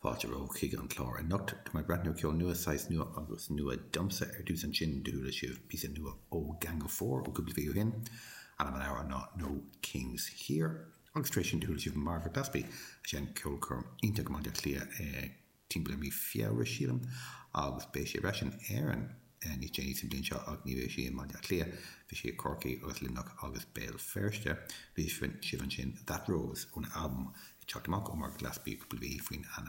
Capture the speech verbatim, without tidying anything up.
Fáilte romhaibh chuig an chlár anocht. Tá mé ag breathnú ceol nua saghas nua agus nua domsa ar dtús ansin do chuala sibh píosa nua ó Gang of Four ó cúpla mhí ó shin. Ainm an amhráin ná No Kings Here. Agus tar éis sin do chuala sibh Margaret Glaspy a sheinn ceolchoirm iontach i mBaile Átha Cliath timpeall ar mí Feabhra sílim agus beidh sí ar ais in Éirinn níos déanaí sa bhliain seo ach ní bheidh sí i mBaile Átha Cliath, beidh sí i Corcaigh agus Luimneach agus Béal Feirste. Bhí sibh ansin That Rose ón albam ag teacht amach ó Margaret Glaspy cúpla mhí faoin ainm